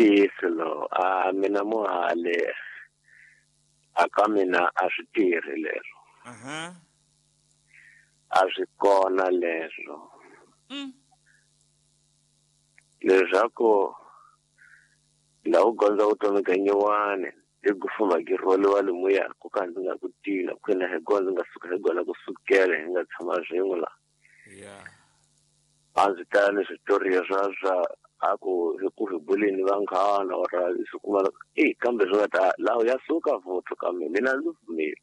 Ntiyiso lowu a mina muhali a ka mina a swi tirhi leswo. A swi kona leswo. Leswaku la u gondza vutomi ka nyuwani i ku fuma ki rholiwa lomuya ku ka ndzi nga ku tina kwina hi kona ndzi nga suka hi kona ku sukela hi nga tshama swin'we la. A ndzi tala ni switoriya swa a ku hi ku hi buleni vanghana or swi kuma e kambe swi nga ta laha ya suka vuthu ka mina mina ndzi pfumeli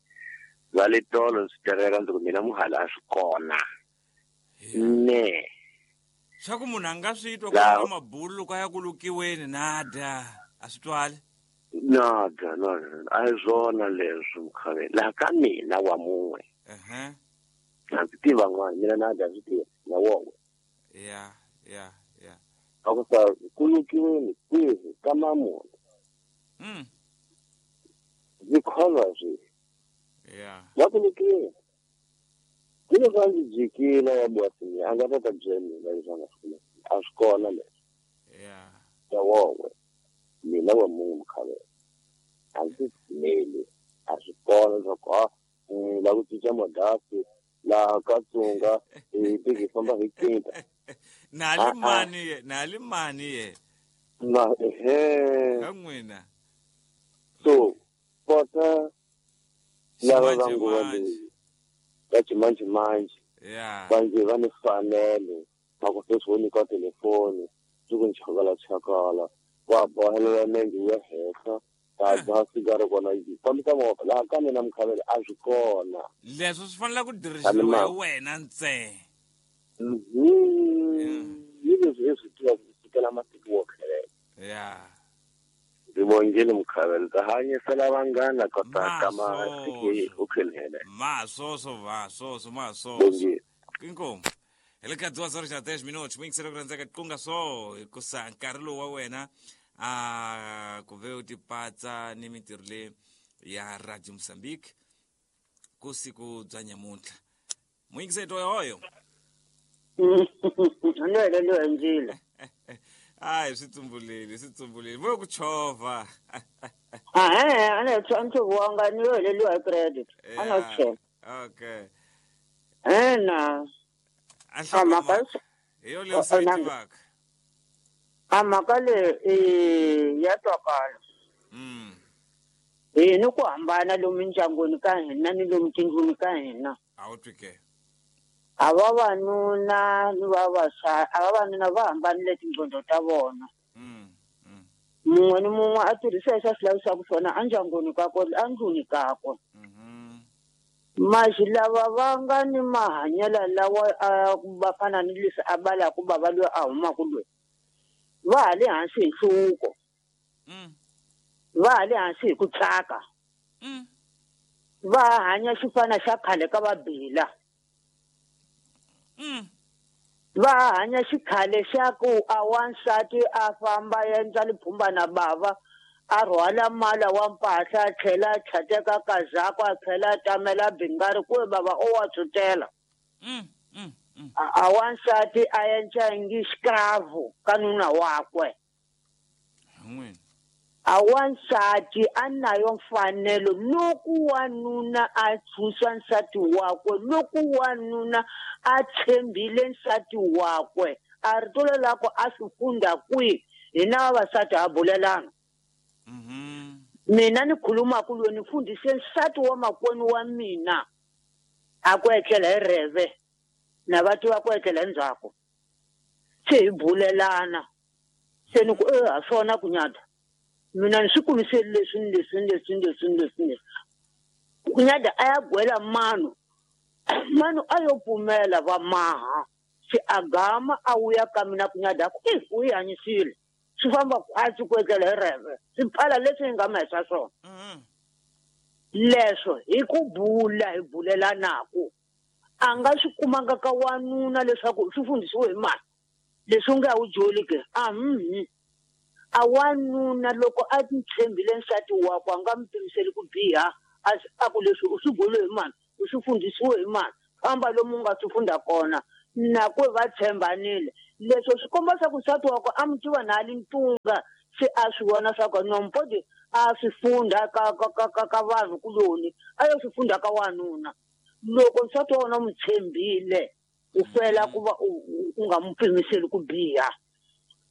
va le tolo ndzi tereka ndzi ku mina muhala a swi kona ne swa ku munhu a nga swi twa ku ka mabulu loko a ya ku lukiweni nada a swi twali nada nada a hi swona leswi mukhaveni laha ka mina wa mun'we a ndzi tiva n'wana mina nada a swi tiva na won'we ya ya ya a ku sa ku lukiweni kwihi ka mamunhu ndzi kholwa swi ya la ku lukiweni Dilo swa ndzi jikile ya bwasini a nga ta ta byela mina leswi a nga swi kuma a swi kona leswi ta won'we mina wa munhu mukhavela a ndzi pfumeli a swi kona leswaku a la ku cinca madasi laha ka tsunga hi tiki hi famba hi kinta nali mani ye nali mani ye na ehe ka n'wina so kota lava va nguva leyi va ximanjhemanjhe va nge va ni fanele va ku sweswi wo nyikiwa telefoni swi ku nchakala-chakala wa bohelela nenge wu ya henhla ta dzaha sigara kona yi fambisa movha laha ka mina mukhavele a swi kona leswo swi fanele ku dirhisiwa hi wena ntsena hi leswi hi swi tiva ku sukela masiku wo khelela ya ndzi vongile mukhavele ndza hanyisela vanghana kota ka masiku u khelele maswoso maswoso maswoso inkomu hi le ka 2 horas 10 minutos muyingiselo ku rhandzeka qunga swo hikusa nkarhi lowu wa wena a ku ve u tipatsa ni mintirho leyi ya Radio Mozambique ku siku bya nyamuntlha muyingiseli toyoyo ni heleliwe hi ndzilo hayi swi tsumbuleli swi tsumbuleli vo ku chovha ahe a ni a ni tshoviwanga ni yo heleliwa hi credit a no chela okay ena a mhaka hi yo leyi u yi tivaka a mhaka leyi ya twakala hi ni ku hambana lomu ndyangwini ka hina ni lomu tindlwini ka hina a wu twi ke a vavanuna ni vavasati a vavanuna va hambanile tinqondo ta vona mun'we ni mun'we a tirhisa leswi a swi lavisaka swona endyangwini kakwe endlwini kakwe maxi lava va nga ni mahanyelo lawa a va fana ni leswi a balaka bava loyi a humaka loyi va ha le hansi hi nhluvuko va ha le hansi hi ku tsaka va hanya xifana xa khale ka vabila va hanya xikhale xa ku a wansati a famba endla liphumba na bava a rhwala mala wa mpahla a tlhela a tlhateka kazako a tlhela a tamela bingari kuve bava o wa tshutela a wansati a endla ngi xikravu ka nuna wakwe a wansati a nayo mfanelo loko wanuna a tshunxa nsati wakwe loko wanuna a tshembile nsati wakwe a rito lelako a swi funda kwihi hina vavasati ha bulelana mina ni khulumaka loyi ni fundhise nsati wa makwenu wa mina a ku etlela hi reve na va tiva ku etlela endzhaku se hi bulelana se ni ku e ha swona ku nyada mina ni swi kumiseli leswi ni leswi ni leswi ni leswi ni leswi ni leswi ku nyada a ya gwela mano mano a yo pfumela va maha se a gama a wuya ka mina ku nyada ku i u yi hanyisile swi famba khwatsi ku etlela hi reve swi pfala leswi hi nga ma hisa swona leswo hi ku bula hi bulelanaku a nga swi kumanga ka wanuna leswaku swi fundhisiwe hi mani leswi u nga wu joli ke a a wanuna loko a tshembile nsati wakwe a nga mi pimiseli ku biha a ku leswi u swi bule hi mani u swi fundhisiwe hi mani famba lomu u nga swi funda kona nakwe va tshembanile leswo swi komba swa ku nsati wakwe a mi tiva na ali ntunga Se a swi vona swa ku nompodi a swi funda ka ka ka ka ka vanhu kuloni a yo swi funda ka wanuna. Loko nsati wa wena u n'wi tshembile u fela ku va u nga n'wi pimiseli ku biha.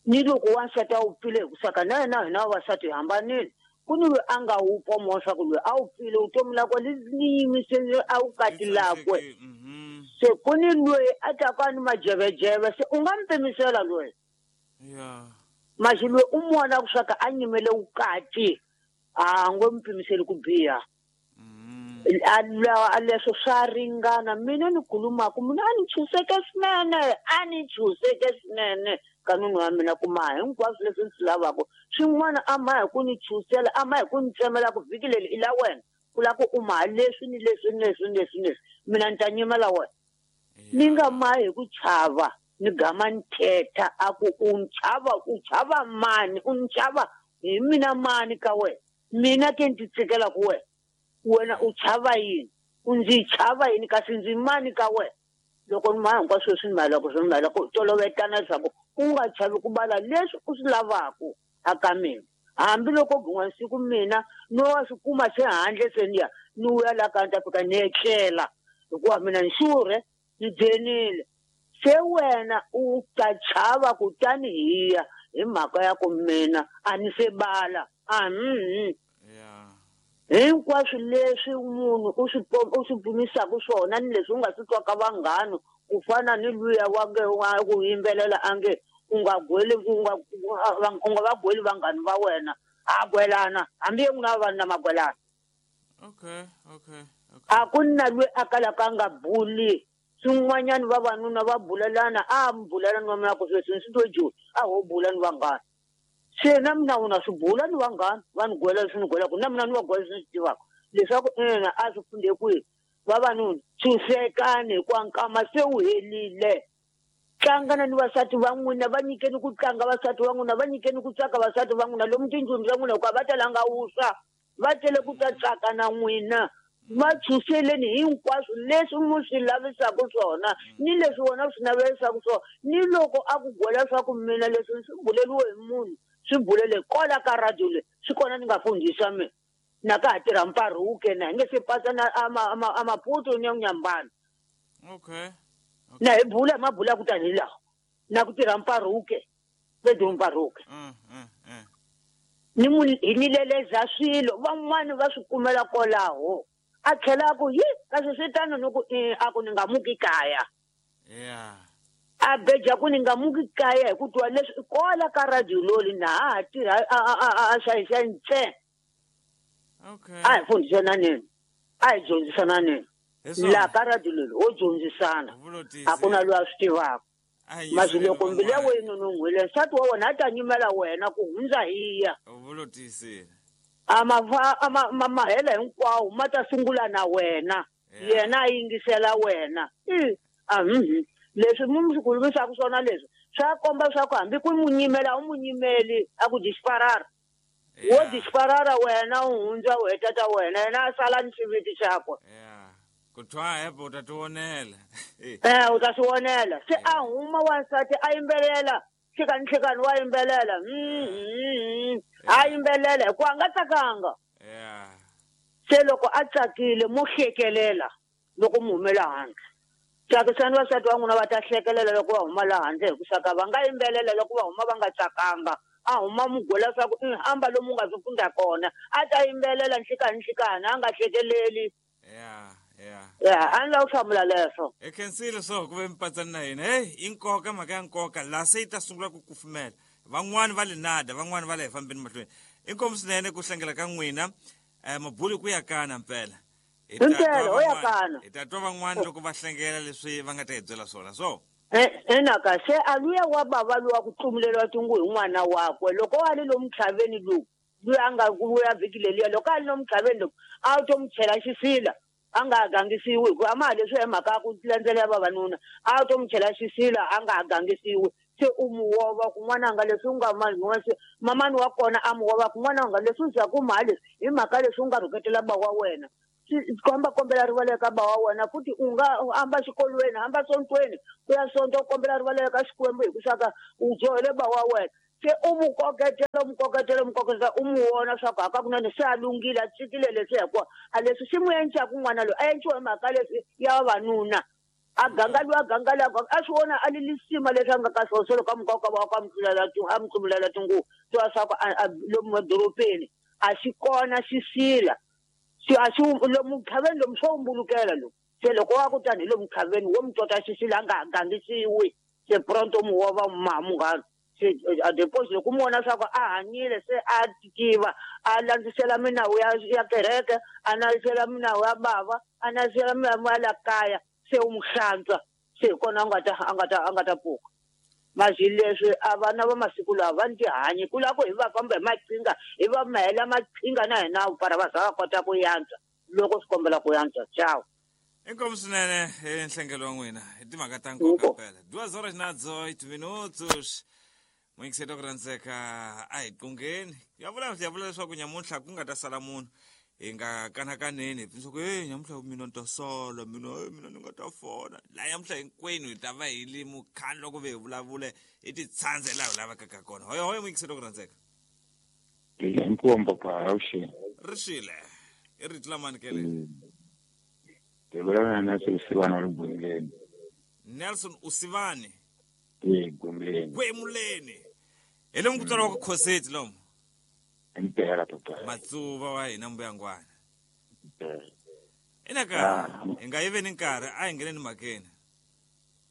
Ni loko wansati a wupfile hi ku saka na yena hina vavasati hi hambanile. Ku ni loyi a nga wupfa moya swa ku loyi a wupfile vutomi lakwe li ni yimisele a vukati lakwe. Se ku ni loyi a taka ni majevejeve se u nga n'wi pimisela loyi. Masi loyi u n'wi vonaka swa ku a nyimele vukati a ngo n'wi pimiseli ku biha. A leswo swa ringana mina ni khulumaka mina a ni chuseke swinene a ni chuseke swinene ka nuna wa mina ku maha hinkwaswo leswi ni swi lavaka swin'wana a maha hi ku ni chusela a maha hi ku ni tsemela ku vhiki leri i la wena ku la ku u maha leswi ni leswi ni leswi ni leswi ni leswi mina ni ta nyimela wena ni nga mahi hi ku chava ni gama ni thetha a ku u ni chava u chava mani u ni chava hi mina mani ka wena mina ke ni ti tshikela ku wena wena u chava yini u ndzi chava yini kasi ndzi mani ka wena loko ni maha hinkwaswo leswi ni mahelaka swi ni mahelaka u tolovetana leswaku u nga chavi ku bala leswi u swi lavaka aka mina hambiloko gun'wana siku mina no wa swi kuma se handle se ni ya ni vuya la ka ni ta fika ni etlela hikuva mina ni xurhe ni dyenile se wena u ta chava kutani hi ya hi mhaka ya ku mina a ni se bala a hinkwaswo leswi munhu u swi u swi pimisaka swona ni leswi u nga swi twaka vanghana ku fana ni luya wa nge wa ku yimbelela a nge u nga gweli u nga u nga va gweli vanghana va wena a gwelana hambi ye n'wina vanhu na magwelana. Okay okay okay. A ku na loyi a kalaka a nga buli swin'wanyana vavanuna va bulelana a mi bulelana wa mina ku sweswi ni swi twe joni a ho bula ni vanghana se na mina u na swi bula ni vanghana va ni gwela leswi ni gwelaka na mina ni va gwela leswi ni swi tivaka leswaku ina a swi funde kwihi vavanuna tshunxekani hikuva nkama se wu helile tlangana ni vasati va n'wina va nyikeni ku tlanga vasati va n'wina va nyikeni ku tsaka vasati va n'wina lomu tindlwini ta n'wina hikuva va talanga wuswa va tele ku ta tsaka na n'wina va tshunxeleni hinkwaswo leswi mu swi lavisaka swona ni leswi wena u swi navelisaka swona ni loko a ku gwela swa ku mina leswi swi buleliwe hi munhu swi bulele kwala ka radio leyi swi kona ni nga fundhisa mina na ka ha tirha mparuke na hi nge se pasa na a Maputo ni ya Nyambana. Okay. Na hi bula mabula ku tani laha na ku tirha mparuke Pedro mparuke. Ni mu hi ni leleza swilo van'wani va swi kumela kwalaho a tlhela a ku yi kasi swi tano ni ku a ku ni nga muki kaya. A beja ku ni nga muki kaya hi ku twa leswi kwala ka radio loli na ha tirha a xayisa ntsena. Okay. A hi fundhisananeni a hi dyondzisananeni laha ka radio leli ho dyondzisana a ku na loyi a swi tivaka masi loko mbilu ya wena non'wile nsati wa wena a ta nyimela wena ku hundza hiya a ma mahela hinkwawo ma ta sungula na wena yena a yingisela wena a leswi mu swi khulumisaka swona leswi swa komba swa ku hambi ku mu nyimela u mu nyimeli a ku disparara wo disparara wena u hundza u heta ta wena yena a sala ni xiviti xakwe. Ku twa hepo u ta tivonela. U ta swi vonela se a huma wansati a yimbelela nhlekani nhlekani wa yimbelela a yimbelela hikuva a nga tsakanga. Se loko a tsakile mo hlekelela loko mu humela handle tsakisani vasati va n'wina va ta hlekelela loko va huma la handle hi ku saka va nga yimbelela loko va huma va nga tsakanga a huma mugwela swa ku hamba lomu nga swi funda kona a ta yimbelela nhlekani nhlekani a nga hlekeleli. A ni lava ku hlamula leswo. Hi khensile swo ku ve mipatsani na hina heyi i nkoka mhaka ya nkoka laha se yi ta sungula ku kufumela van'wani va le nada van'wani va le hi fambeni mahlweni inkomu swinene ku hlangela ka n'wina mabulu ku ya kana mpela Himpela ho ya kana hi ta twa van'wani loko va hlengela leswi va nga ta hi byela swona so enaka se a luya wa bava luwa ku tlumuleriwa tingu hi n'wana wakwe loko a li lomu tlhaveni lowu loyi a nga vuya vhiki leliya loko a li lomu tlhaveni loko a wu to mu chela xisila a nga ha gangisiwi hikuva a ma ha leswi hi mhaka ya ku landzelela vavanuna a wu to mu chela xisila a nga ha gangisiwi se u mu wova ku n'wananga leswi u nga mamani wa kona a mu wova ku n'wananga leswi u za ku maha leswi hi mhaka leswi u nga rhuketela ba wa wena komba kombela rivalelo ka ba wa wena futhi u nga hamba xikolweni hamba sontweni ku ya sonto u kombela rivalelo ka Xikwembu hi ku saka u dyohele ba wa wena. Se u mu koketela u mu koketela u mu koketela u mu vona swa ku hakakunene se a lunghile a tshikile leswi hikuva a leswi swi n'wi endlaku n'wana loyi a endliwa hi mhaka leswi ya vavanuna. A ganga loyi a ganga loyi a ganga a swi vona a lilisima leswi a nga ka swona se loko a muka ka va ka mutlulela a mu tluvulela tinguvu tiva swa ku lomu madorobeni a xi kona xisila xi a xi lomu khaveni lomu swo mbulukela lomu se loko wa ku tani hi lomu khaveni wo mu tota xisila a nga ha gangisiwi se pronto mu wa va maha munghana se a deposit loko mu vona swa ku a hanyile se a tiva a landzisela minawu ya kereke a landzisela minawu ya bava a landzisela minawu ya la kaya se u mu hlantswa se hi kona a nga ta pfuka. Mazi leswi a vana va masiku lawa va ni tihanyi ku lava ku hi va famba hi maqhinga hi va mahela maqhinga na hina para va za va kota ku yantswa loko swi kombela ku yantswa. Ciao. Inkomu swinene nhlengelo wa n'wina hi timhaka ta nkoka phela. 2 horas na 18 minutos, muyingiseti wa ku rhandzeka, a hi qungeni ya vula leswaku nyamuntlha ku nga ta sala munhu hi nga kanakaneni hi leswaku e nyamuntlha mina ni ta sala mina e mina ni nga ta fona laha nyamuntlha hinkwenu hi ta va hi li mukhandlu loko ve hi vulavule hi ti tshandze laha hi lavekaka kona. Hoyo hoyo, muyingiseti wa ku rhandzeka. Inkomu papa, awuxeni. Ri swile i rito lamani kele. Hi vulavula na Nelson Usivani wa le Gwemuleni. Nelson Usivani. E Gwemuleni. Gwemuleni hi lomu ku tswariwaka Khoseti lomu. Impela papa. Matsuva wa hina mbuyangwana. Impela. Inaka Ah. hi nga yiveni nkarhi, a hi ngheneni mhakeni.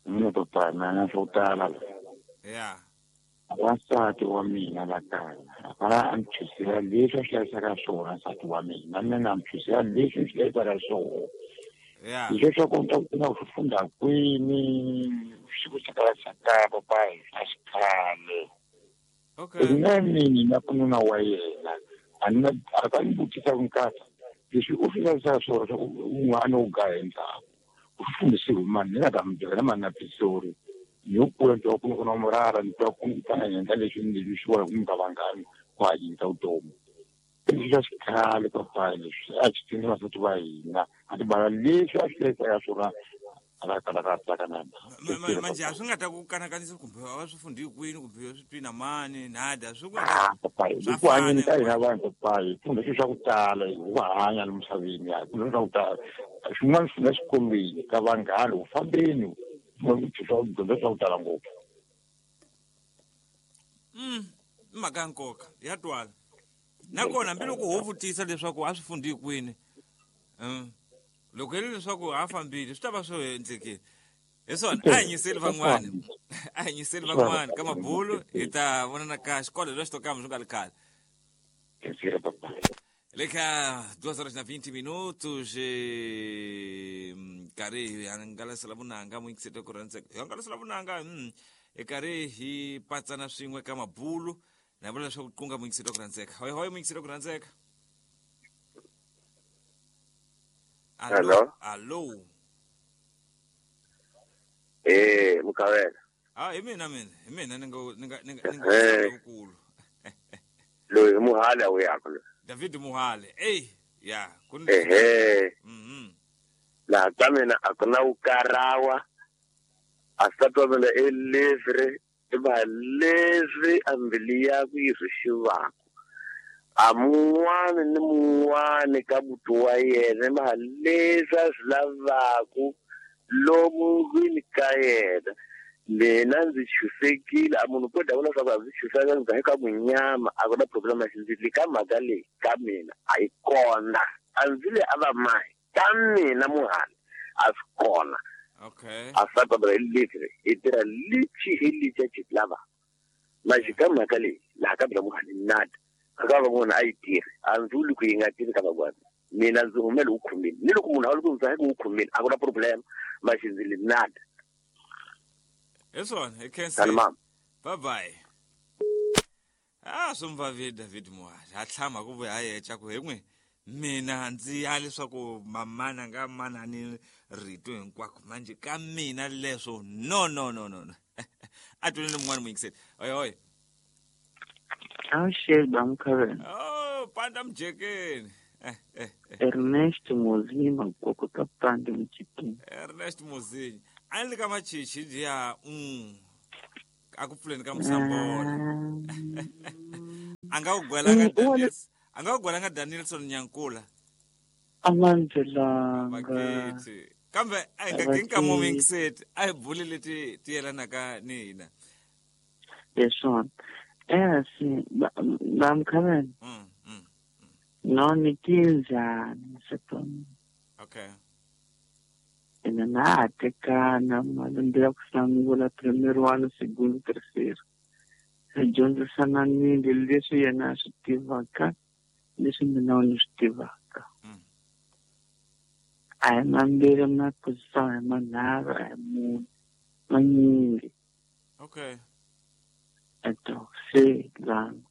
Mina papa na swo tala. Ya. Wansati wa mina la kaya a fana a ni chusela leswi a swi hlayisaka swona nsati wa mina, na mina na mi chusela leswi ni swi hlayisaka swona. Ya. Leswi swa ku ni ta ku kuma ku swi fundha kwini swi ku tsakala papa a xikhale. Na mina ku nuna wa yena a ni na a ka ni vutisa ku nkata leswi u swi hlayisaka swona swa ku un'wana u gaya endzhaku u swi fundhisiwe hi mani, ni nga ta mi byela mani na pisori ni yo kula ni twa ku na murara ni twa ku fana ni endla leswi ni leswi swi vona ku mi nga vangani ku hanyisa vutomi leswi swa xikhale papa leswi a swi tsini vasati va hina a ti bala leswi a swi hlayisaka swona a la kala ka tsaka na. Manje a swi nga ta ku kanakanisa kumbe a va swi fundhi kwini kumbe swi twi na mani nada swi ku Ah, papa, hi Swa ku hanyeni fana ka hina vanhu papa hi funda swilo swa ku tala hi ku hanya la misaveni hi funda swa ku tala swin'wana swi funda xikolweni ka vanghana ku fambeni swa dyondza swa ku tala ngopfu. I mhaka ya nkoka ya twala nakona hambiloko ho vutisa leswaku a swi fundhi kwini, loko hi ri leswaku a fambile swi ta va swi endlekile hi swona. A hi nyiseli van'wani, a hi nyiseli van'wani ka mabulu, hi ta vonana ka xikolo lexi to kama swi nga ri khale. Kensile papa. Leka 2 horas na 20 minutos, nkarhi hi hangalasela vunanga, muyingiseti ku rhandzeka, hi hangalasela vunanga, hi karhi hi patsana swin'we ka mabulu na vula leswaku qunga. Muyingiseti ku rhandzeka, hoyi hoyi, muyingiseti ku rhandzeka. Hello. Allo. Eh, Mukavela. Ah, hi mina, mina hi mina ni nga wukulu. Loyi i Muhali a wuyaka loyi. David Muhale, ey ya ku ni Ehe. Laha ka mina a ku na vukarawa. A nsati wa mina i livre, i va leswi a mbilu yakwe yi swi xivaka. A mun'wani ni mun'wani ka buti wa yena i va leswi a swi lavaku lomu ndlwini ka yena. Mina ndzi chusekile, a munhu ko davula swa ku a ndzi chuseka ndzi ka munyama a ku na problem xindzili ka mhaka leyi ka mina a yi kona. A ndzi le a va mahi ka mina Muhali a swi kona. A nsati wa mina i livre, i tirha lichi hi lichi a xi lava. Maxi ka mhaka leyi laha ka mina Muhali nada. A ka van'wana a yi tirhi, a ndzi vuli ku yi nga tirhi ka van'wana. Mina ndzi humele wu khumile. Ni loko munhu a ri ku ndzi wu khumile a ku na problem maxi ndzi le nada. Hi swona, hi Tani khensile. Mama. Bye bye. A swi mvavi David Muhali a tlhama ku vuya yeca ku hi n'wi mina ndzi ya leswaku mamana nga manani rito hinkwako manje ka mina leswo no no no no no a tweleni mun'wana muyingiseli. Oy oy. Awuxeni Bamkhavela. Oh, panda mujekeni. Eh, eh, eh. Ernest Mozinyi Makoko ka Pande Mujekeni. Ernest Mozinyi a ni le ka machichi ya. A ku pfuleni ka Musambolo. A nga ku gwelanga Daniels. A nga ku gwelanga Danielson Nyankula. A nga ndzelanga. Kambe a hi nga kinka momingiseti a hi buli leti ti yelanaka ni hina. Leswona. Si ba mkhaveni. No ni kinzani setoni. Okay. Ina na tekana malembe ya ku sungula primero ano, segundo, terceiro. Hi dyondzisana nile leswi yena a swi tivaka leswi mina ni swi tivaka. A hi mambirhi ma kusa hi manharhu a hi mune manyingi. Okay. Eto se lana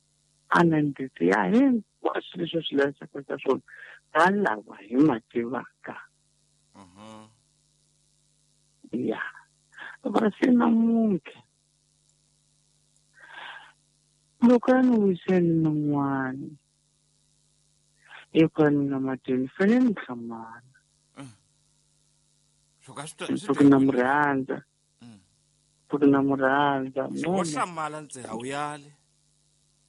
a na ndzi ya hinkwaswo leswi swi lavekaka ka swona ka lava hi ma tivaka. Ya. Va se namuntlha loko a ni wiseni n'wana hikuva ni nga matini fanele ni hlamala. Ku na murhandza. Ku na murhandza. Wo hlamala ndzi a wu yali.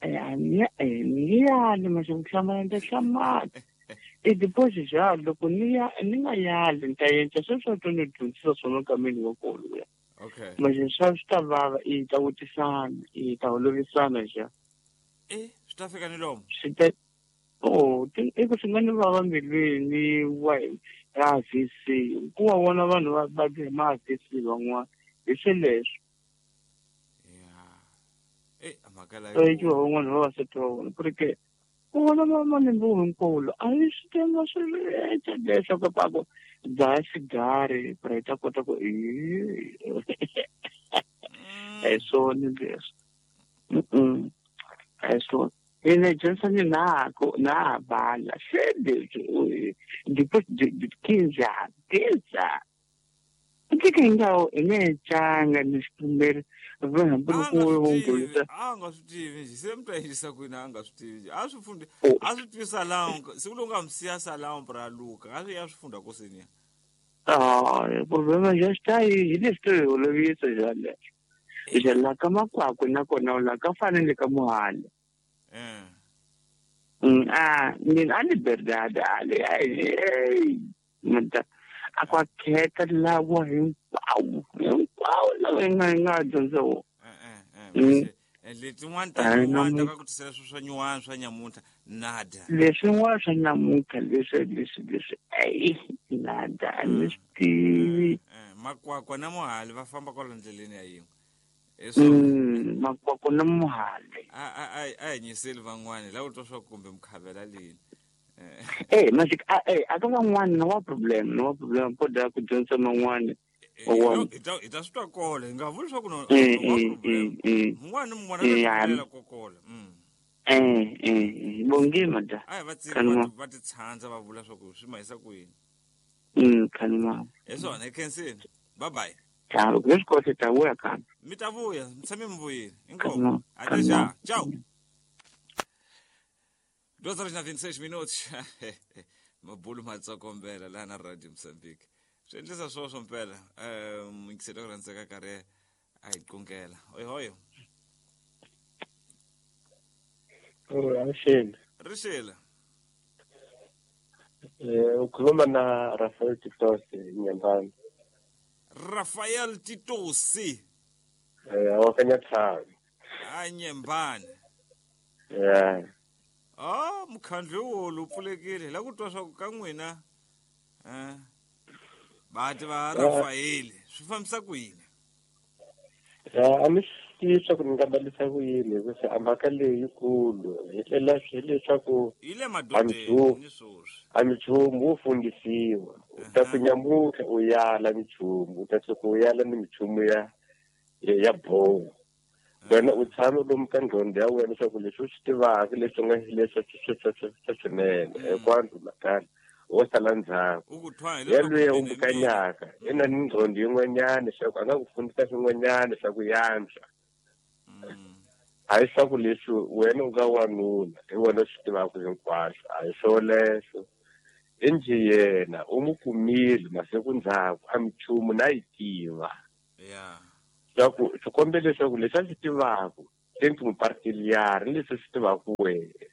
Ni yali mase ku hlamala ndzi hlamala. I deposit ja loko ni ya ni nga yali ni ta endla sweswo to ni dyondzisa swona ka mina wa kona. Okay. Mase swa swi ta vava i ta vutisana i ta holovisana ja. Swi ta fika ni lomu. Swi ta i ku swi nga ni vava mbilwini wa ya VC ku wa vona vanhu va va ma VC van'wana hi sweleswo. Yeah. Mhaka la. Ki van'wana va vasati va vona ku ri ke ku vona malembe hinkwawo a yi swi tiva swi leswaku paku dzaha xigari ku ri hi ta kota ku a hi swona leswi. A hi swona. Ina dyondzisa na ku na bala se leswi depois de 15 anos que ingawo inetshanga nisipfumeri hambi loko wo a nga swi tivi se mi ta yisa kwini a nga swi tivi a swi fundi a swi tivi salão siku lowu nga mi siya salão pra luka a swi ya swi funda kosini ya. Problema já está aí hi leswi to hi holovisa ja leswo ja la ka makwakwe nakona la ka fanele ka muhali. Mina a liberdade ali a kwa khetha lawa hinkwawo hinkwawo lawa hi nga dyondza wona. Letin'wana ta nyuwana ta ka ku tisela swilo swa nyuwana swa nyamuntlha nada. Leswin'wana swa nyamuntlha leswi ai nada a ni swi tivi. Makwakwa na muhali va famba kwala ndleleni ya yin'we. Makwakwa na muhali. A hi nyiseli van'wana lava twa swa kumbe mukhavela lini. Magic a ka van'wana na wa problem po da ku dyondza man'wana. Hi ta swi twa kola hi nga vuli swa ku no un'wana ni mun'wana a ko kola. Bongi mada. A hi va tsiki va ti tshandza va vula swa ku swi ma yisa kwini. Khanima. Hi swona hi khensini. Bye bye. Ciao, leswi kote ta vuya kambe. Mi ta vuya, mi tshame mi vuyile. Inkomu. Até já. Tchau. 2:26 minutos. Mabulu matsokombela la na Radio Mozambique. Swi endlisa swoswo mpela. Muyingiseri ku rhandzeka karhi a hi qungela. Oi hoyo. Avuxeni. Rixile. Ukhuluma na Rafael Titosi Nyambani. Rafael Titosi. Wa ka Nyathanga. A Nyembani. Yeah. Mukhandlu wo pfulekile la ku twa swa ku ka n'wina vati va Rafael swi fambisa ku yini? A mi swi tivi swa ku ni nga balisa ku yini hikuva a mhaka leyi yikulu hi tlela hileswaku yi le madodeni ni swoswi. A minchumu wo fundisiwa u ta ku nyamutlha u yala minchumu u ta tshuka u yala ni minchumu ya boho. Wena u tshame lomu ka nqondo ya wena leswaku leswi u swi tivaka leswi nga leswi swa swinene hinkwaswo makaya wo sala ndzhaku yelweyo u mukanyaka i na ni nqondo yin'wanyana leswaku a nga ku fundisa swin'wanyana swa ku yantswa. A hi swa ku leswi wena u nga wanuna hi wena u swi tivaka hinkwaswo a hi swoleswo. Indzi yena u n'wi kumile masiku ndzhaku a minchumu na yi tiva. Yeah. Swa ku swi kombe leswaku leswi a swi tivaka se ni mupartiliyari leswi swi tivaka wena.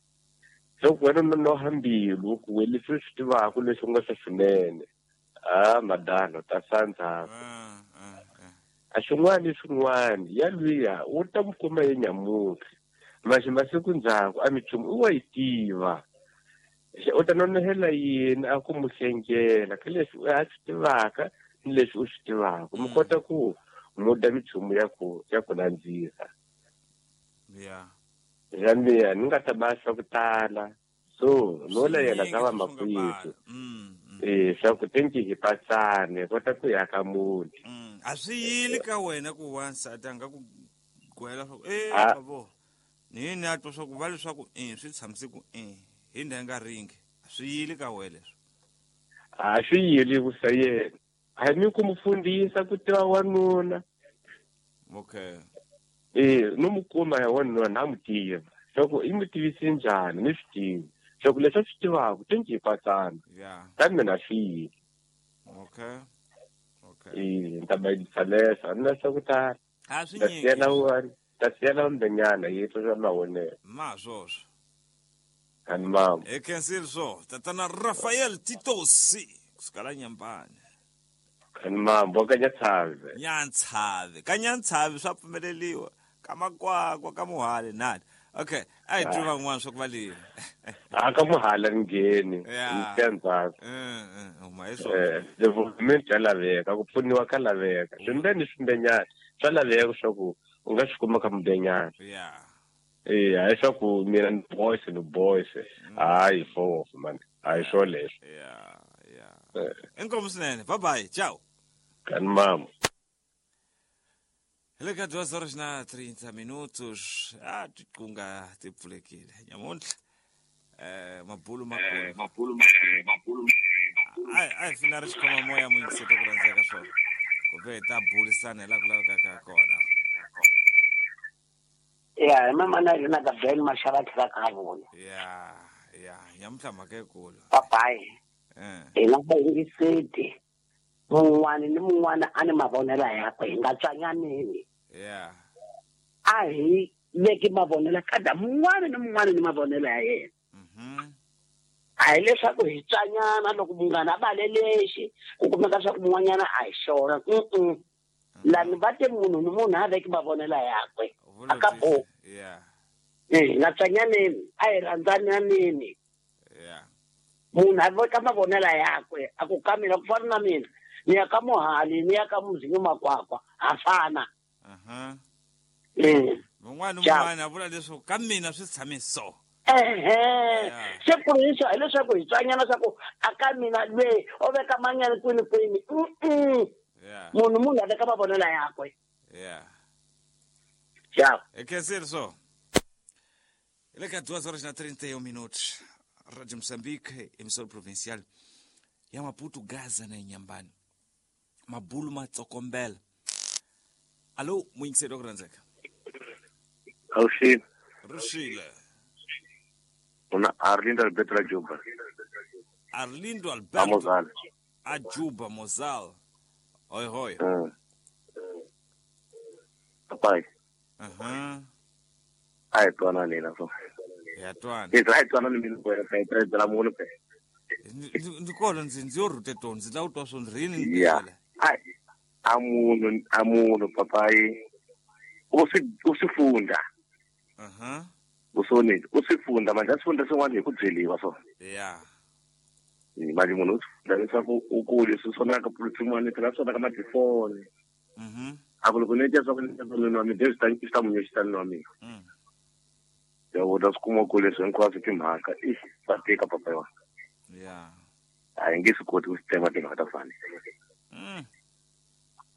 Swa ku wena nonoha mbilu ku we leswi swi tivaka leswi nga swa swinene. Ah madala ta sandza. A xin'wana ni xin'wana ya luya u ta mu kuma ye nyamuntlha. Maxi masiku ndzhaku a minchumu u wa yi tiva. U ta nonohela yini a ku mu hlengela ka leswi a swi tivaka ni leswi u swi tivaka. Mi kota ku muda minchumu ya ku nandzika. Yeah. Zambia ni nga ta ba swa ku tala. So no la yena ka va makwethu. Swa ku tenki hi patsane kota ku ya ka muti. A swi yili ka wena ku wansati a nga ku gwela swa ku babo. Ni ni a twa swa ku va leswaku swi tshamise ku hi ndhenga ringi. A swi yili ka wena leswi. A swi yili ku sa yena. A ni ku mufundhisa ku tiva wanuna. Okay. No mu kuma ya wanuna na mu tiva. Swa ku i mu tivise njhani ni swi tivi. Swa ku leswi a swi tivaka tenki hi patsana. Yeah. Ka mina swi yili. Okay. Okay. Ni ta bayisa leswo a ni na swa ku tala. A swi Ta nyiki. siyela wun'wana, ta siyela mbenyana yi twa swa mavonelo. Ma swoswo. Ani mama. E khensile swo. Tatana Rafael Titosi kusuka la Nyambani. Ani mama ka Nyantshavi. Nyantshavi. Ka Nyantshavi swa pfumeleliwa. Ka Makwakwa ka Muhali nani. Okay, a hi twi van'wana swa ku va lile. A ka Muhali ni ngheni. Yeah. Ni ndzhaku. Huma hi swona. Development ya laveka, ku pfuniwa ka laveka. Swimbeni swimbenyana swa laveka swa ku u nga swi kuma ka mbenyana. Yeah. Hayi swa ku mina ni boys ni boys. Hayi fo man. Hayi swo leswo. Yeah, yeah. Inkomu swinene. Bye bye. Ciao. Kan mama. Hi le ka 2:30 minutos. A tiqunga ti pfulekile. Nyamuntlha. Mabulu makulu. Mabulu. Ai fina ri xikhoma moya muyingiseti ku rhandzeka swona. Ku ve hi ta burisana hi laha ku lavekaka kona. Ya, hi mama na yena Gabriel Mashava tlhela ka vona. Ya, ya, nyamuntlha mhaka yikulu. Papayi. Hi nga vayingiseti. Mun'wana ni mun'wana a ni mavonelo yakwe hi nga tswanyaneni. Yeah. A hi veki mavonelo kada mun'wana ni mun'wana ni mavonelo ya yena. A hi leswaku hi tswanyana loko munghana a vale lexi ku kumeka swa ku mun'wanyana a hi xona. Lani va te munhu ni munhu a veki mavonelo yakwe. A ka bo. Yeah. Hi nga tswanyaneni, a hi rhandzananeni. Yeah. Munhu a veka mavonelo yakwe a ku ka mina ku fana na mina. Ni ya ka Muhali, ni ya ka Muzinyo Makwakwa, ha fana. Mun'wana un'wana a vula leswaku ka mina swi tshame so. Se ku ri hi leswaku hi tswanyana swa ku a ka mina lweyi o veka manyana kwini kwini. Munhu a veka mavonelo yakwe. Yeah. Ciao. E khensile swo. Hi le ka 2:31 minutos. Rádio Moçambique, emissora provincial ya Maputo, Gaza na Inhambane. Mabulu matsokombela. Alô, muyingiseri wa ku rhandzeka. Awuxile. Ruxile. Una Arlindo Alberto la Juba. Arlindo Alberto. Mozal. A Juba Mozal. Oi, oi. Papai. Ai twana nina so. Ya twana. Ai twana ni mina kwena ka itredzela la munhu pe. Ndzi kona ndzi yo rhute tona ndzi lava ku twa swo ndzi rini. Yeah. Ai amunhu papai. Usifunda. Usonile usifunda manje asifunda swin'wana hi ku byeliwa so. Yeah. Manje munhu usifunda leswaku u kule swi sonaka swin'wana phela swi sonaka matifoni. A ku loko ni tya swa ku ni nwa mi swi ta munhu xi ta nwa mina. Ya u ta swi kuma ku leswi hinkwaswo timhaka i swa tika papa yona. Yeah. A hi nge swi koti ku swi tema timhaka ta fani.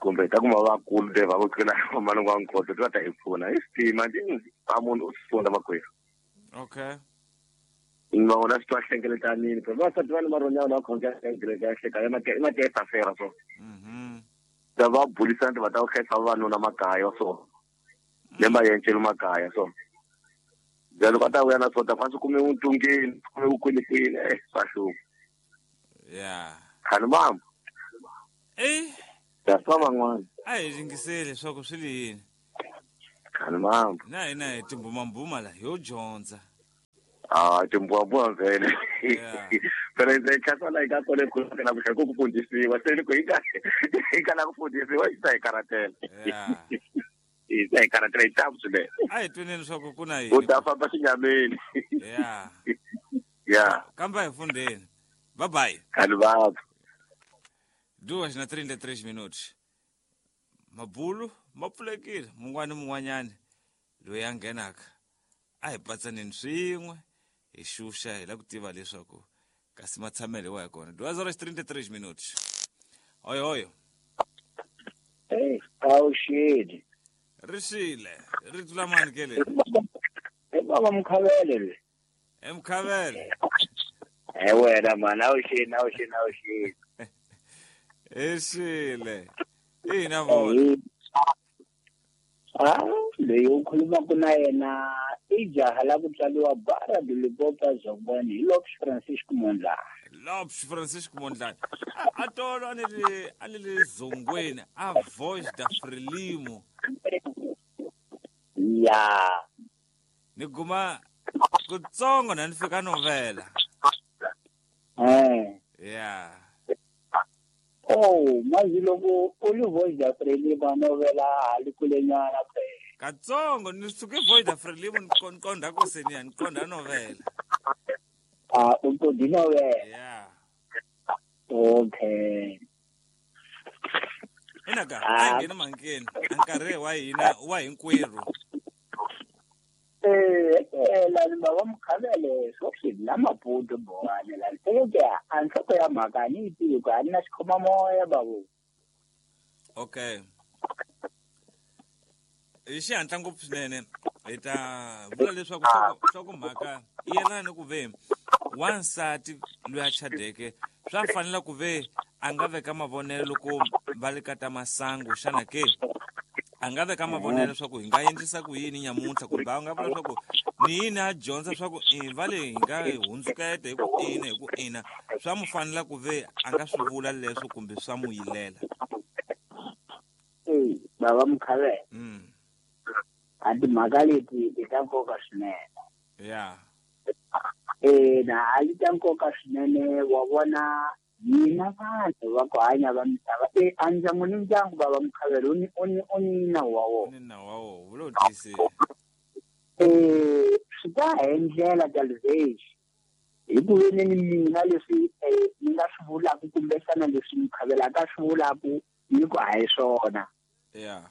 Kumbe ta kuma vakulu le va ku tlula malungu wa nkhoto va ta hi pfuna hi swi tima a munhu u swi funda makwerhu. Okay. Ma vona swi twa hlengeletanini phela vavasati va ni maronyana va khongela ka kereke ya hleka i mateka fera so. Ta va burisana va ta ku hlayisa vavanuna makaya so. Le mayencelo makaya so. Loko a ta vuya na swo ta fa swi kume vuntungeni kume vukwinikwini swa hlupha. Yeah. Khani mama. Ta twa van'wana. A hi yingiseli leswaku swi li yini. Khani mambo. Na hina hi timbumambuma la yo dyondza. Ah, timbumambuma vhele. Yeah. Phela hi khatsa la hi nga kona ku na ku ku fundisiwa se loko hi nga la ku fundisiwa hi ta hi karatela. Yeah. Hi ta hi karatela hi tamu swinene. A hi tweneni leswaku ku na yini. U ta famba xinyameni. Yeah. Yeah. Kambe a hi fundeni. Bye bye. Khani mambo. 2:33 minutos. Mabulu ma pfulekile mun'wana ni mun'wanyana loyi a nghenaka a hi patsaneni swin'we hi xuxa hi la ku tiva leswaku kasi matshamelo wa hi kona. 2:33 minutos. Oyo oyo. Hey, awuxeli. Ri xile, ri tlula mani ke le? I baba Mkhavele le. Mkhavele. Eh wena mani, awuxeli, awuxeli, awuxeli. Exile. Ina vona. Ah, leyi u khulumaka na yena i jaha la ku tswariwa Barra do Limpopo Zongwani hi Lopes Francisco Mondlane. Lopes Francisco Mondlane. A tolo a ni le Zongweni a Voz da Frelimo. Ya. Ni guma kutsongo na ni fika novela. Eh. Yeah. Oh, mazi loko u li Voz da Frelimo novela hali kulenyana phela. Katsongo ni suke Voz da Frelimo ni qonda ku seniya ni qonda novela. Ah, u qonda novela. Yeah. Okay. Ina ka a nghena mankeni nkarhi wa hina wa hinkwerhu. La ni baba Mkhavele swo swi la Maputo bowani la ke a nhloko ya mhaka ni yi tivi ku a ni na xikhomamoya babu. Okay. Hi xihatla ngopfu swinene hi ta vula leswaku nhlokomhaka yi yelana ni ku ve wansati loyi a chadeke swa fanela ku ve a nga veka mavonelo loko va le ka ta masangu xana ke a nga veka mavonelo leswaku hi nga endlisa ku yini nyamuntlha kumbe a nga vula leswaku ni yini a dyondza leswaku va le hi nga hundzuketa hi ku ina hi ku ina swa mu fanela ku ve a nga swi vula leswo kumbe swa mu yilela. Eh, baba Mkhavele. A timhaka leti i ta nkoka swinene. Yeah. Na a yi ta nkoka swinene wa vona hina vanhu va ku hanya va misava a ndyangu ni ndyangu baba Mkhavele u ni nawu wa wona. Ni nawu wa wona wu lo tiyisile. Swi ta hi ndlela ta levexi hi ku ve ni mina leswi ni nga swi vulaka kumbexana leswi Mkhavele a ka swi vulaka ni ku a hi swona. Yeah.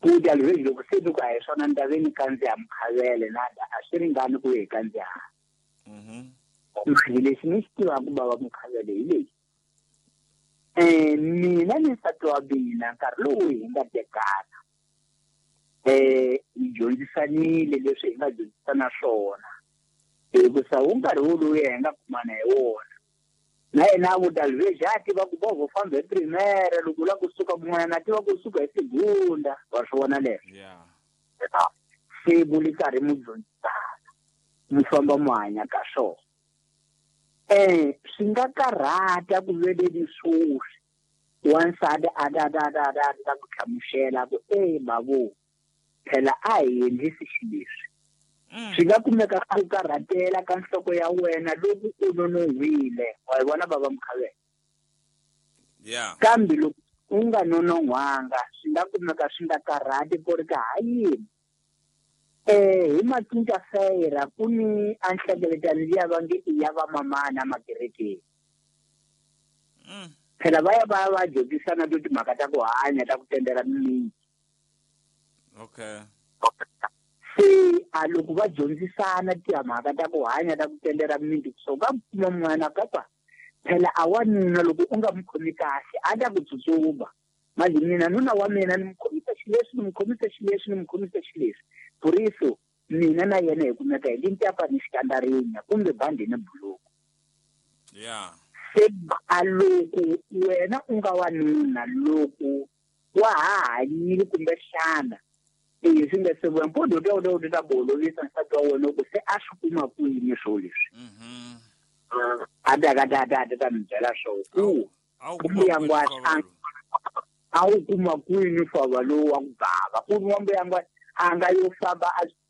Ku ta levexi loko se ni ku a hi swona ni ta ve ni kandziya Mkhavele na a swi ringani ku hi kandziya. Mali lexi ni xi tivaka baba Mkhavele hi lexi. Mina ni nsati wa mina nkarhi lowu hi nga tekana hi dyondzisanile leswi hi nga dyondzisana swona hikusa wu nkarhi woluya hi nga kumana hi wona na yena a vuta levexi a tiva ku bovho famba hi primera loko u lava kusuka kun'wanyana a tiva kusuka hi segunda wa swi vona leswo. Se mu li karhi mu dyondzisana mu famba mu hanya ka swona. Swi nga karhata ku veleni swoswi wansati a ta ta ku hlamusela ku babu phela a hi endlisi xileswi. Swi nga kumeka ku karhatela ka nhloko ya wena loko u nonohwile wa yi vona baba Mkhavele. Yeah. Kambe loko u nga nonohwanga swi nga kumeka swi nga karhati ku ri ka ha yini. Hi macinca fera ku ni a nhlengeletano liya va nge i ya vamamana makerekeni. Phela va ya va va dyondzisana to timhaka ta ku hanya ta ku tendela mimiti. Okay. Se a loko va dyondzisana timhaka ta ku hanya ta ku tendela mimiti so ka kuma n'wana kapa phela a wanuna loko u nga mu khomi kahle a ta ku tsutsuma. Manje mina nuna wa mina ni mu khomisa xileswi ni mu khomisa xileswi ni mu khomisa xileswi. Puriso mina na yena hi kumeka hi lintapa ni xikandarinya kumbe bandi ni buluku. Yeah. Se a loko wena u nga wanuna loko wa ha hanyile kumbexana swi nga se vuya mpondo u ta ku holovisa nsati wa wena ku se a swi kuma kwini swo leswi. A ta ka ta ta mi byela swona ku kumbe ya ngwatanga. A wu kuma kwini fava lowu wa ku bava ku ri n'wambuyangwa a nga yo famba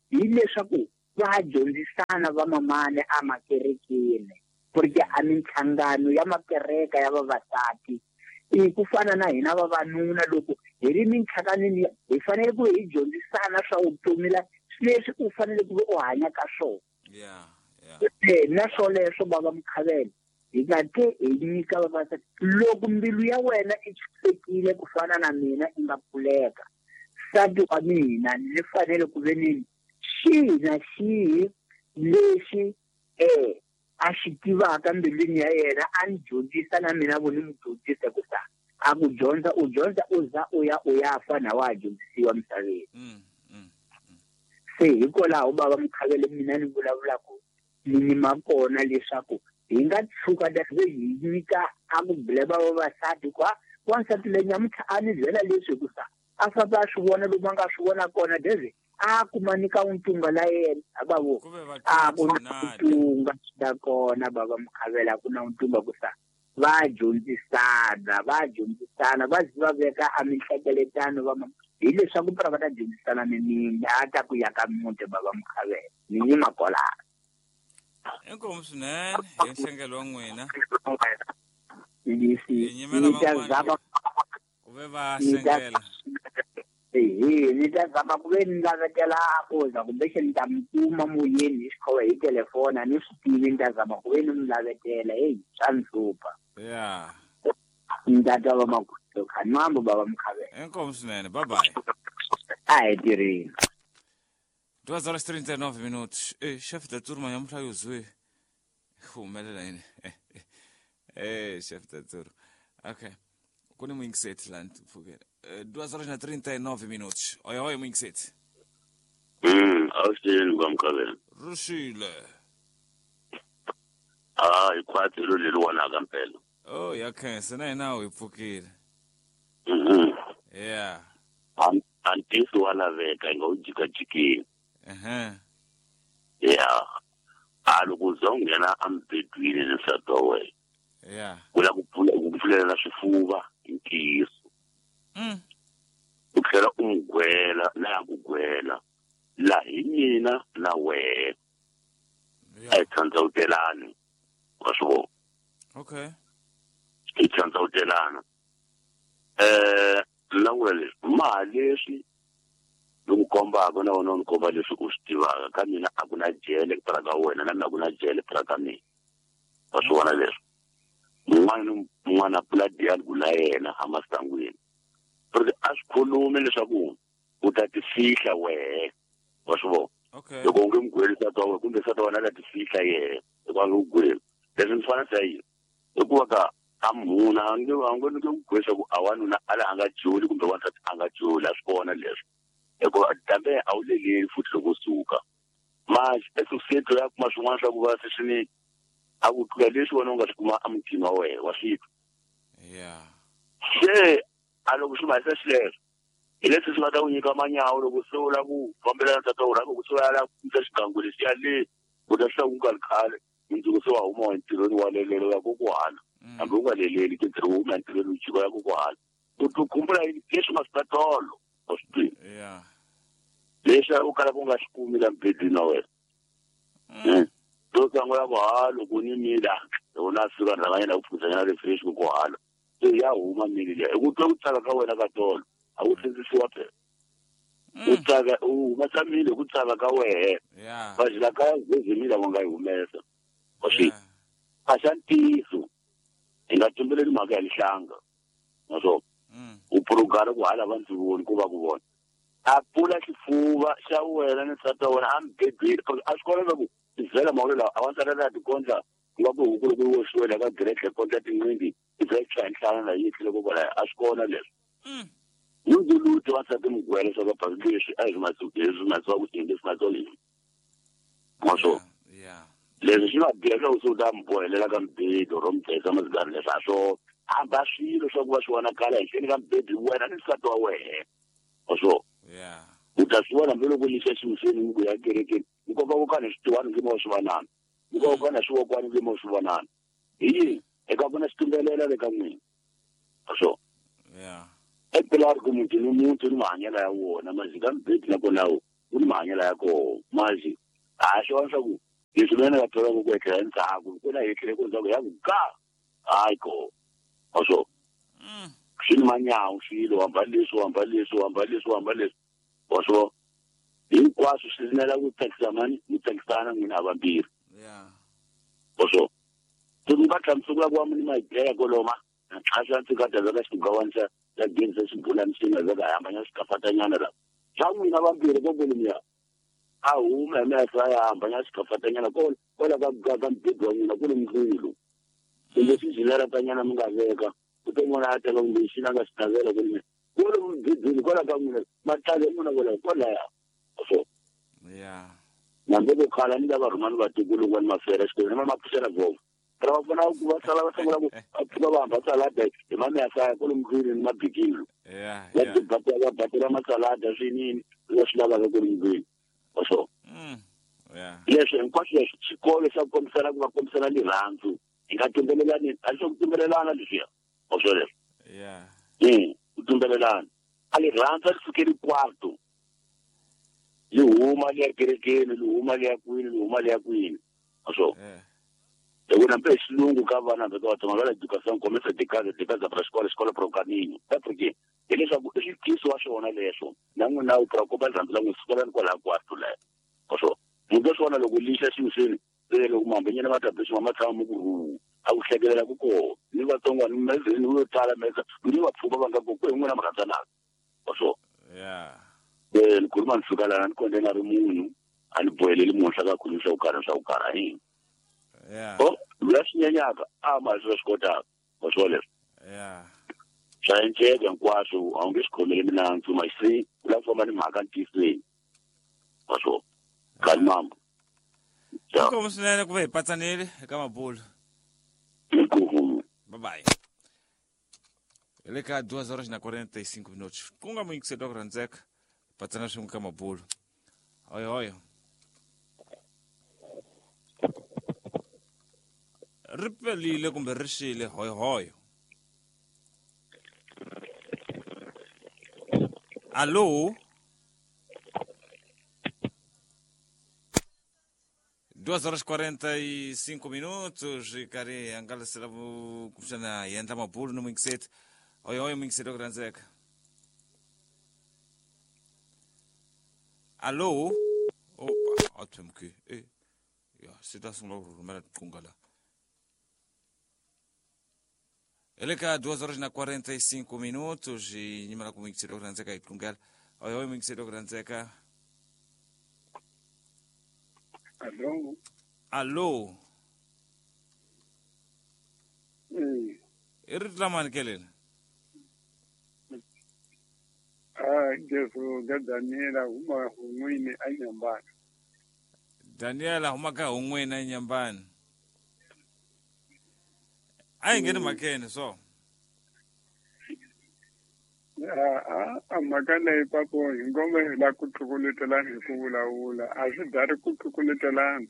hileswaku va dyondzisana vamamani emakerekeni ku ri ke a minhlangano ya makereka ya vavasati i ku fana na hina vavanuna loko hi ri minhlanganweni hi fanele ku hi dyondzisana swa vutomi la leswi u fanele ku u hanya ka swona. Na swoleswo bava Mukhavela hi nga ke hi nyika vavasati loko mbilu ya wena i chisekile ku fana na mina i nga pfuleka nsati wa mina ni fanele ku ve ni xihi na xihi lexi a xi tivaka mbilwini ya yena a ni dyondzisa na mina vo ni n'wi dyondzisa ku sa a ku dyondza u dyondza u za u ya u ya fa na wa ha dyondzisiwa misaveni. Se hikwalaho bava Mukhavela mina ni vulavulaka ni nyima kona leswaku hi nga tshuka hi nyika a ku blema vavasati kwa wansati leyi nyamuntlha a ni byela leswi ku sa a famba a swi vona lomu a nga swi vona kona deve a kuma nyika untunga la yena bavo a ku na untunga swi kona bava Mukhavela ku na untunga ku sa va dyondzisana va zi va veka a minhlengeletano va hileswaku pra va ta dyondzisana ni a ta ku ya ka muti bava Mukhavela ni nyima kwalano. Inkomu swinene hi nhlengelo wa n'wina. Ku ve va hlengela. Ni ta zama ku ve ni lavetela ku za kumbe ni ta mi kuma moyeni hi xikhowa hi telefoni a ni swi tivi ni ta zama ku ve ni mi lavetela heyi swa ni hlupha. Ni ta twa va makhutlo khanwambo bava Mukhavela. Inkomu swinene, bye bye. A hi tirheni. 2h39 minutos. Chefe da turma nyamuntlha yuzwe. Humelela yini? Chefe da turma. Okay. Ku ni muyingiseti la ni pfukela. 2h39 minutos. Oi, oi, muyingiseti. Awuxeni kwa Mukhavela. Ruxile. Ah, ikhwatsi lo leli wanaka mpela. Oh, ya khensa na hina hi pfukile. Yeah. Antisi wa laveka hi nga wu jikajikini. Yeah. A loko u za u nghena emubedweni ni nsati wa wena. Yeah. Ku la ku pfulela swifuva hi ntiyiso. U tlhela u n'wi gwela na ya ku gwela la hi mina na wena. A hi tsandzawutelani wa swi vona. Okay. Hi tsandzawutelana. Na vula leswi maha leswi ni ku kombaka na wena u ni komba leswi u swi tivaka ka mina a ku na jele pra ka wena na mina a ku na jele pra ka mina. Wa swi vona leswi mun'wana ni mun'wana a pfula dialogue na yena emasangwini porque a swi khulumi leswaku u ta ti fihla wehe wa swi vona. Loko u nge n'wi gweli nsati wa wena kumbe nsati wa wena a ta ti fihla yehe hikuva a nge ku gweli leswi ni fana sa yini hikuva ka a munhu a nge nge ku gweli swa ku a wanuna a la a nga joli kumbe wansati a nga joli a swi kona leswi hikuva kambe a wu leleli futhi loko u suka manje esosiyete ya kuma swin'wana swa ku va se swi ni a ku tlula leswi wena u nga swi kuma emutini wa wena wa swi twa. Se a loko swi mahisa xileswo hi leswi swi nga ta ku nyika manyawo loko se u lava ku fambelana nsati wa wena ku se u ya lava ku yisa xigangu lexiya le u ta swi ku nga ri khale mundzuku se wa huma entirhweni wa lelelo ya kokwala hambi u nga leleli ke ntirho wo huma entirhweni u jika ya kokwala u ti khumbula leswi nga swi ta tolo wa swi tivi leswi u kalaka u nga swi kumi la mubedweni wa wena. To sungula ku ha loko ni mila loko na fika ni rhanga nyana ku pfukisanyana refresh ku kohala se ya huma mili liya hi ku twa ku tsaka ka wena ka tolo a ku tlhendzisiwa phela u tsaka u humesa mili hi ku tsaka ka wehe vajila kaya zeze mili va nga yi humesa wa swi a xa ntiyiso hi nga tumbeleli mhaka ya lihlanga naswona u purugala ku hala va ndzi voni ku va ku vona a pfula xifuva xa wena ni nsati wa wena a mubedweni a swi kona leswaku tivhela mawulo lawa a wansati la tikondla ku nga ku huku loko yi oxiwe la ka gretle kondla tinqindi ti za yi tshwa hi nhlana la yi tlhele kokwalaho a swi kona leswi ndzuluti wansati mugwele swa ka leswi a hi swi masiwa ku yini leswi masiwa yini maswo leswi swi va biha leswaku se u ta mi bohelela ka mibedo ro mi dlayisa masigari leswi a swo hamba swilo swa ku va swi vonakala henhleni ka mibedo wena ni nsati wa wehe maswo u ta swi vona hambiloko lixa ximiseni mi ku ya kerekeni nkoka ku kana switiwani nge mo swi vonana nkoka ku kana swivokwani nge mo swi vonana hi yini eka ku na xitumbelela le ka n'wina maswo Epilari ku muti ni muti ni mahanyelo ya wona mazi ka mibedi na kona wu ni mahanyelo ya koho mazi a swi swa ku leswi mina nga thola ku etlela endzhaku ku na etlele ku ndzhaku ya ku ga hayi ko also swi ni manyawu swilo hamba leswi hamba leswi hamba leswi hamba leswi also hinkwaswo swi rinela ku tsakisa mani mi tsakisana n'wina havambirhi also se mi va hlamusela ku wa mi ni mayideya koloma a swi ndzi ka ta ka xigawani xa xa gezi xibulani xi nga veka hambanya xikafatanyana la xa n'wina vambirhi kokolomiya a huma hi mehlo ya hambanya xikafatanyana kwala ka mibedi wa n'wina ku ni mdlulu kumbe swizileratanyana mi nga veka ku te n'wana a teka kumbe xi na nga xi navela kumbe kwala mibedweni kwala ka n'wina matlale n'wina kwala kwalaya so nambe ku khala ni lava rhumani vatukulu kwani mafera xikolweni ma mapfuxela vomo ra va pfuna ku va sala va sungula ku pfuka va hamba salada hi mameyasaya kwalomu ndlwini ni mabikilo va batela masalada swinini va swi lavaka kwalomu ndlwini so leswi hinkwaswo leswi xikolo xa ku kombisana ku va kombisana rirhandzu hi nga tumbelelani a swo ku tumbelelana leswiya o swo leswo ku tumbelelana a rirhandzu a ri sukeli kwarto li huma li ya kerekeni li huma li ya kwini li huma li ya kwini so loko na mpe xilungu ka vana va vatsonga va la educação começa de casa de casa para escola escola para o caminho tá porque hileswaku i xitiso wa xona leswo na n'wina u preocupa rirhandzu la n'wi sikolani kwalaha kwarto leyo so munhu swona loko lixa ximiseni se loko mahambenyana va ta bexima ma tshama mu ku rhu a ku hlekelela ku koho ni vatsonga ni mezeni yo tala meza ni va pfuka va nga ku ku hi n'wina mi rhandzanaka so ni khuluma ni fika lana ni konde na ri munhu a ni boheleli munhu swa ka khulumi swa ku karha swa ku karha yini o loyi a swi nyenyaka a ma swi swi kotaka wa swo leswo swa enceka hinkwaswo a wu nge swi khomeli minandzu masi u lava ku famba ni mhaka ntiyisweni wa swo kani mambo inkomu swinene ku va hi patsanile eka mabulo inkomu bye bye hi le ka 2 horas na 45 minutos ku nga muyingiseli wa ku rhandzeka patsana swin'we ka mabulo hoyo hoyo ri pelile kumbe ri xile hoyo hoyo allo 2 horas 45 minutos karhi hangalasela kumbexana hi endla mabulo no muyingiseti hoyo hoyo muyingiseti wa ku rhandzeka allo opa a themke ya se ta sungula ku rhumela tiqunga la hi le ka 2 horas na 45 minutos hi nyimela ku muyingiseli wa ku rhandzeka hi qungela hoyo hoyo muyingiseli wa ku rhandzeka allo allo i rito lamani keleni Jesu ga Daniela huma hun'wini a Nyambani. Daniela huma ka hun'wini a Nyambani. A yi ngheni mhakeni so. A mhaka leyi papo hi ngoma hi la ku tlukuletelana hi ku vulavula a swi dari ku tlukuletelana.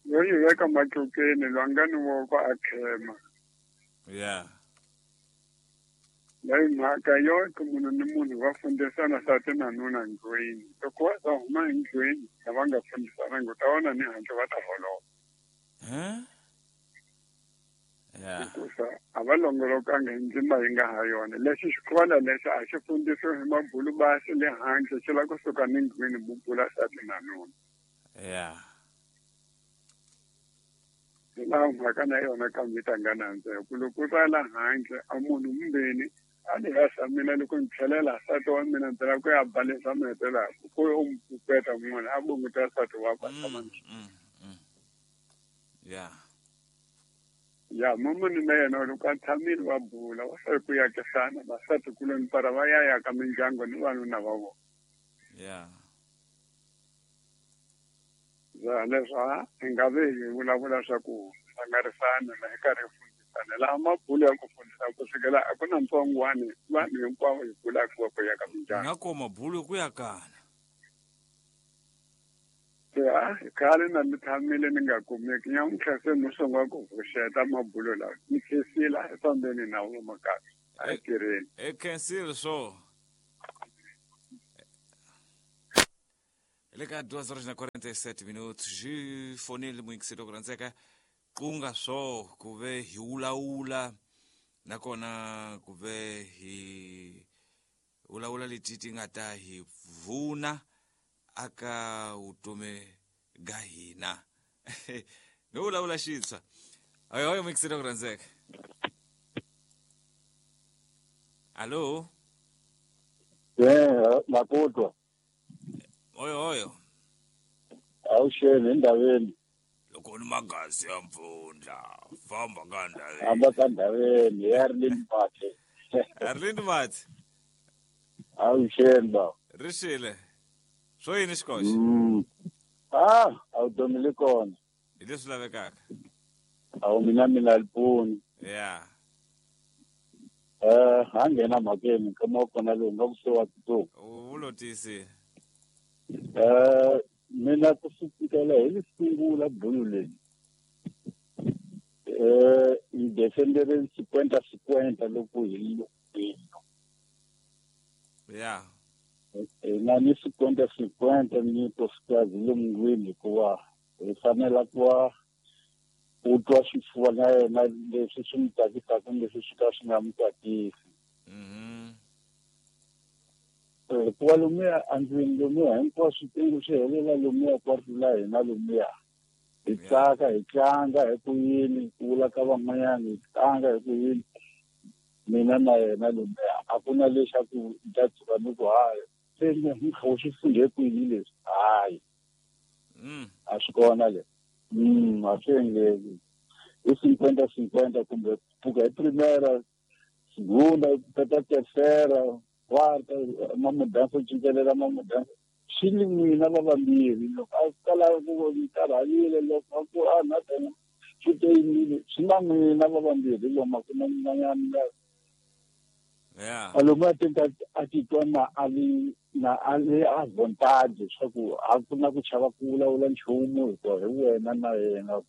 Yo yi veka matlukeni lwangani woko a khema. Leyi mhaka yo munhu ni munhu va fundisana nsati na nuna ndlwini loko va za huma endlwini lava nga fundisananga u ta vona ni handle va ta holova hikusa a va longolokanga hi ndzima yi nga ha yona lexi xikhola lexi a xi fundisiwi hi mabulu basi le handle xi lava kusuka ni ndlwini bubula nsati na nuna hi laha mhaka na yona kambe yi ta nga nandzeka ku loko u ta la handle a munhu mumbeni a ni hasa mina loko ni tlhelela nsati wa mina ndzi lava ku ya balesa mahetelaka ku u mi pupeta munhu a bunguta nsati wa ku a tshama ya mamani na yena loko a tshamile va bula va sali ku yakisana vasati kuloni para va ya yaka mindyangu ni vanuna va vona ya leswi hi nga ve hi vulavula swa ku hlangarisana na hi karhi hi fundisana laha mabulo ya ku fundisa ku sukela a ku na ntsongwani vanhu hinkwavo hi bulaka va ku yaka mindyangu nga ko mabulo ku yakana ya khale na ni tshamile ni nga kumeki nyamuntlha se ni sungula ku pfuxeta mabulo lawa ni khensile a hi fambeni na wo makaya. A hi tirheni. E khensile swo. Le ka 2h47 minutos xi fonile muyingiseri ku rhandzeka ku nga swo ku ve hi wulawula nakona ku ve hi wulawula leti ti nga ta hi pfuna aka vutomi ga hina. No wulawula xintshwa. Oyo muyingiseri ku rhandzeka. Allo? Makutwa. Oyo oyo. Awusheni endabeni. Loko ni magazi ya mpfundla, famba ka ndhaveni. Famba ka ndhaveni, Arlene Mathe. Arlene Mathe. Awusheni ba. Rixile. Swo yini xikoxi? Ah, awudomile kona. Hi leswi lavekaka. Awu mina lipuni. Yeah. Ha nghena mhakeni nkama wa kona lowu nga ku se wa titulu. U lo tiyisile. Mina ku sukela hi li sungula bulo leyi hi defendere 50-50 loko hi loko yeah na ni 50-50 ni nkosikazi lomungwini hikuva hi fanela ku va u twa swifuva na yena leswi swi n'wi tsakisaka leswi swi ka swi nga n'wi tsakisi. Hikuva lomuya andlwini lomuya hinkwaswo swi helela lomuya kwarito la hina lomuya hi tsaka hi tlanga hi ku yini ku vula ka van'wanyana hi tlanga hi ku yini mina na yena lomuya a ku na lexaku ta tshuka ni ku hayi se ni kha u swi fundhe kwini leswi hayi a swi kona le a swi endleki hi 50-50 kumbe pfuka hi primera segunda tata tercera quarta mamudanso cincelela mamudanso swi ni n'wina va vambirhi loko a kala ku karhalile loko a ku a na tena swi te yimile swi na n'wina va vambirhi lomu a ku na n'wanyana yeah lomu a teka a titwa na a li na a li advantage swa ku a ku na ku chava ku vulavula nchumu hikuva hi wena na yena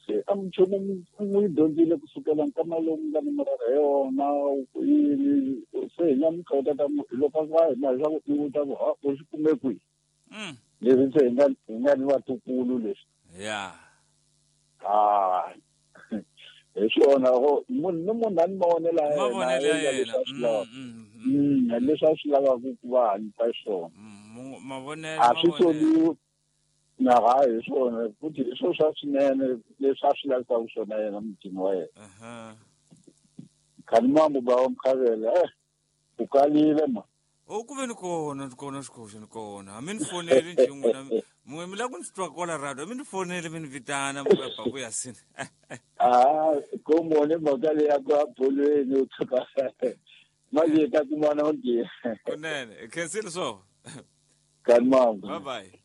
se a nchumu n'wi dyondzile kusukela nkama lowu nga ni murara hi yona yini se hi nga mi kota ta loko a va hina leswaku i vuta ku u swi kume kwihi leswi se hi nga ni vatukulu leswi yeah ah hi swona munhu ni munhu a ni mavonelo ya yena leswi a swi lavaka ku va hanyisa xiswona mavonelo a swi soliwi na hayi hi swona futhi hi swo swa swinene leswi a swi lavisaka swona yena mutini wa yena. Khani mambo ba wa Mkhavela u kalile ma. O ku ve ni kona xikoxo ni kona a mi ni foneli nje n'wina mun'we mi lava ku ni twa kwala radio a mi ni foneli mi ni vitana ba ku ya sini. Ah ko mone mhaka leyi ya ku a bolweni u tshuka manje ta kumana onge. Kunene khensile swo. Khani mambo. Bye bye.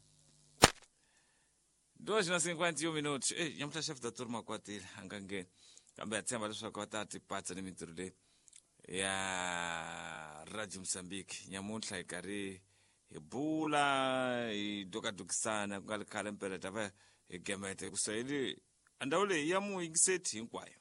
2:51 minutos. Ei, nyamuhla chefe da turma kwatile a nga ngheni kambe ha tshemba leswaku va ta tipatsa ni mintirho leyi ya Radio Mozambique. Nyamuntlha hi karhi hi bula hi dokadokisana ku nga ri khale mpela ta va hi gemete ku sayili a ndhawu leyi ya muyingiseti hinkwayo.